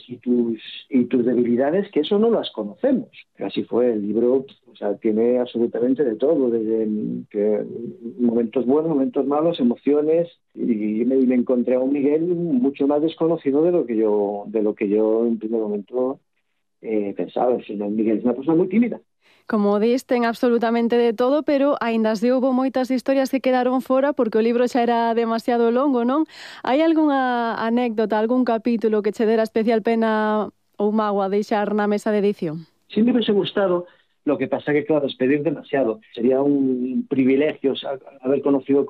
talentos y tus debilidades, que eso no las conocemos. Así fue, el libro, o sea, tiene absolutamente de todo, desde momentos buenos, momentos malos, emociones, y me encontré a un Miguel mucho más desconocido de lo que yo en primer momento pensaba. O sea, Miguel es una persona muy tímida. Como dis, ten absolutamente de todo, pero aínda así houve moitas historias que quedaron fora porque o libro xa era demasiado longo, non? Hai algunha anécdota, algún capítulo que che dera especial pena ou mágoa deixar na mesa de edición? Sí me hubiese gustado, lo que pasa que, claro, despedir demasiado. Sería un privilegio haber conocido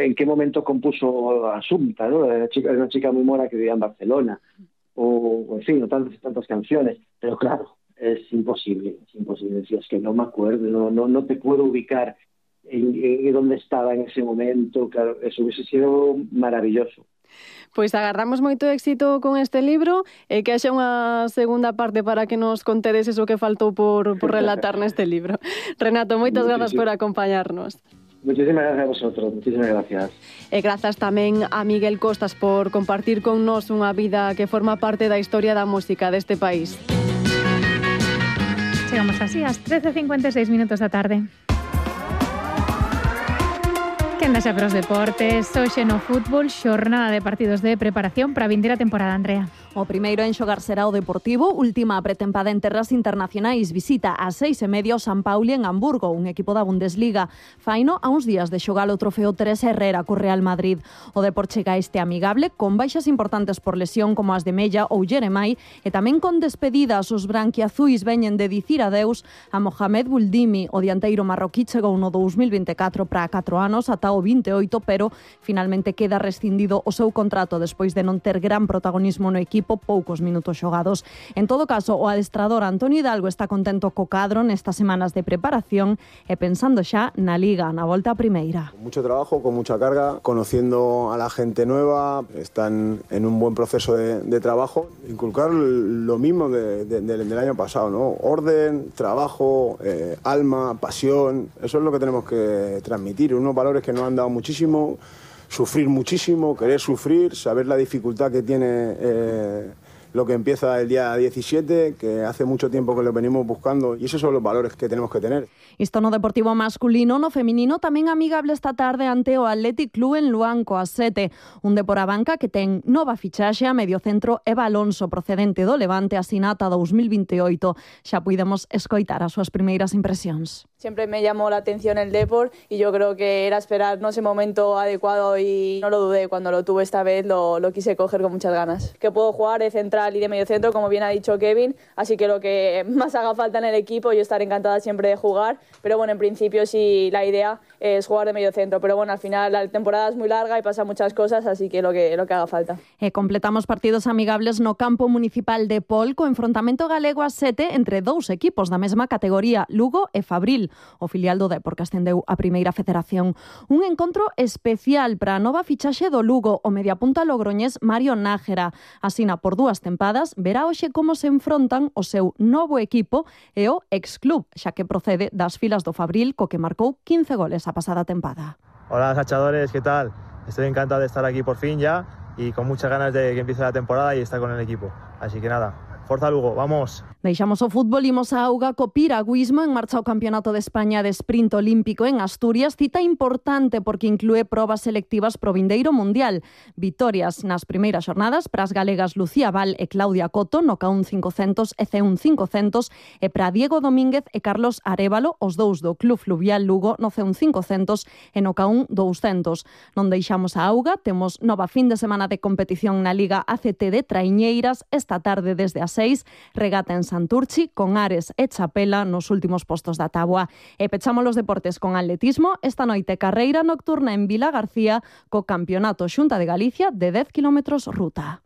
en qué momento compuso Asunta, ¿no? Era una chica muy mona que vivía en Barcelona, o en fin, tantas canciones, pero claro, es imposible. Si es que no me acuerdo, no te puedo ubicar en dónde estaba en ese momento. Claro, eso hubiese sido maravilloso. Pois agardamos moito éxito con este libro e que haxa unha segunda parte para que nos contedes eso que faltou por relatar neste libro. Renato, moitas grazas por acompañarnos. Muchísimas gracias a vosotros, muchísimas gracias. E grazas tamén a Miguel Costas por compartir con nós unha vida que forma parte da historia da música deste país. Chegamos así ás 13:56 da tarde. Quenda xa para os deportes, hoxe no fútbol, xornada de partidos de preparación para a vindeira temporada, Andrea. O primeiro en xogar será o Deportivo, última pretempada en terras internacionais, visita ás 6:30 o San Pauli en Hamburgo, un equipo da Bundesliga. Faino a uns días de xogar o trofeo Teresa Herrera co Real Madrid. O Depor chega este amigable con baixas importantes por lesión como as de Mella ou Jeremai e tamén con despedidas. Os branquiazuis veñen de dicir adeus a Mohamed Buldimi. O dianteiro marroquí chegou no 2024 para 4 anos ata o 28, pero finalmente queda rescindido o seu contrato despois de non ter gran protagonismo no equipo, poucos minutos xogados. En todo caso, o adestrador Antonio Hidalgo está contento co cadro nestas semanas de preparación e pensando xa na Liga, na volta a primeira. Mucho trabajo, con mucha carga, conociendo a la gente nueva, están en un buen proceso de trabajo. Inculcar lo mismo del año pasado, ¿no? Orden, trabajo, alma, pasión, eso es lo que tenemos que transmitir, unos valores que nos han dado muchísimo. Sufrir muchísimo, querer sufrir, saber la dificultad que tiene lo que empieza el día 17, que hace mucho tiempo que lo venimos buscando, y esos son los valores que tenemos que tener. Isto no deportivo masculino, no feminino tamén amigable esta tarde ante o Athletic Club en Luanco a 7. Un Depor a banca que ten nova fichaxe a mediocentro Eva Alonso, procedente do Levante, asinata 2028. Xa puidemos escoitar as súas primeiras impresións. Siempre me llamó la atención el Depor y yo creo que era esperarnos el momento adecuado y no lo dudé. Cuando lo tuve esta vez lo quise coger con muchas ganas. Que puedo jugar de central y de mediocentro, como bien ha dicho Kevin, así que lo que más haga falta en el equipo, yo estaré encantada siempre de jugar, pero bueno, en principio sí la idea es jugar de mediocentro, pero bueno, al final la temporada es muy larga y pasan muchas cosas, así que lo que haga falta. Completamos partidos amigables no campo municipal de Pol, co enfrontamento galego a 7 entre dous equipos da mesma categoría, Lugo e Fabril, o filial do Depor que ascendeu a Primeira Federación. Un encontro especial para a nova fichaxe do Lugo, o mediapunta logroñés Mario Nájera. Asina por 2 tempadas, verá hoxe como se enfrontan o seu novo equipo e o ex-club, xa que procede das filas do Fabril, co que marcou 15 goles a pasada tempada. Hola, sachadores, ¿qué tal? Estoy encantado de estar aquí por fin ya y con muchas ganas de que empiece la temporada y estar con el equipo. Así que nada, forza Lugo, vamos. Deixamos o fútbol, imos a auga co piragüismo. En marcha o Campeonato de España de Sprint Olímpico en Asturias, cita importante porque inclúe probas selectivas pro vindeiro mundial. Vitorias nas primeiras xornadas para as galegas Lucía Val e Claudia Coto no K1 500 e C1 500 e para Diego Domínguez e Carlos Arévalo, os dous do Club Fluvial Lugo no C1 500 e no K1 200. Non deixamos a auga, temos nova fin de semana de competición na Liga ACT de Traiñeiras, esta tarde desde as 6, regata en Santurchi, con Ares e Chapela nos últimos postos da táboa. E pechamos os deportes con atletismo. Esta noite carreira nocturna en Vila García co Campeonato Xunta de Galicia de 10 km ruta.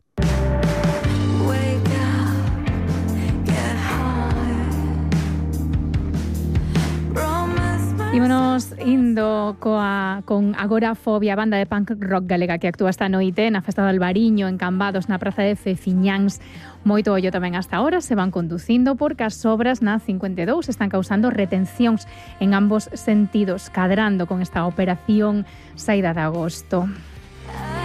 Ímonos indo con Agorafobia, banda de punk rock galega que actúa esta noite na Festa do Albariño en Cambados, na Praza de Feciñáns. Moito ollo tamén hasta ahora, se van conducindo porque as obras na 52 están causando retencións en ambos sentidos, cadrando con esta operación saída de agosto.